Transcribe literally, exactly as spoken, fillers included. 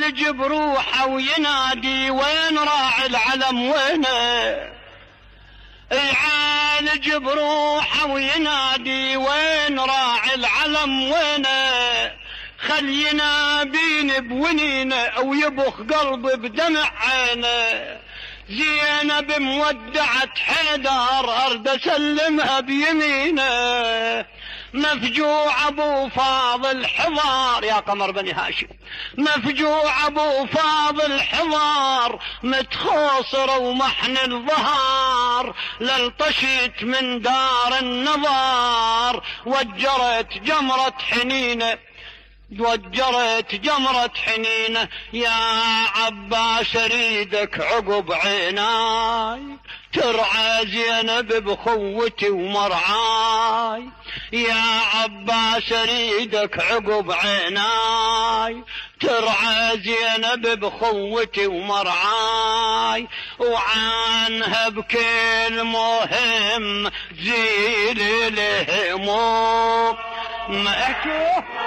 يعالج بروحه وينادي وين راعي العلم وينه، يعالج بروحه وينادي وين راعي العلم وينه، خلينا بين بونينه او يبخ قلبي بدمع عينه، زينب مودعة حيدر ارد اسلمها بيمينه، مفجوع ابو فاضل حضار يا قمر بني هاشم، مفجوع ابو فاضل حضار متخوصر ومحن الظهار، للطشيت من دار النظار وجرت جمرة حنينه، وجرت جمرة حنينه، يا عباس اريدك عقب عيناي ترعى زينب بخوتي ومرعاي، يا عباس اريدك عقب عيناي ترعى زينب بخوتي ومرعاي، وعنها بكل مهم زيل الهموم. ما احكي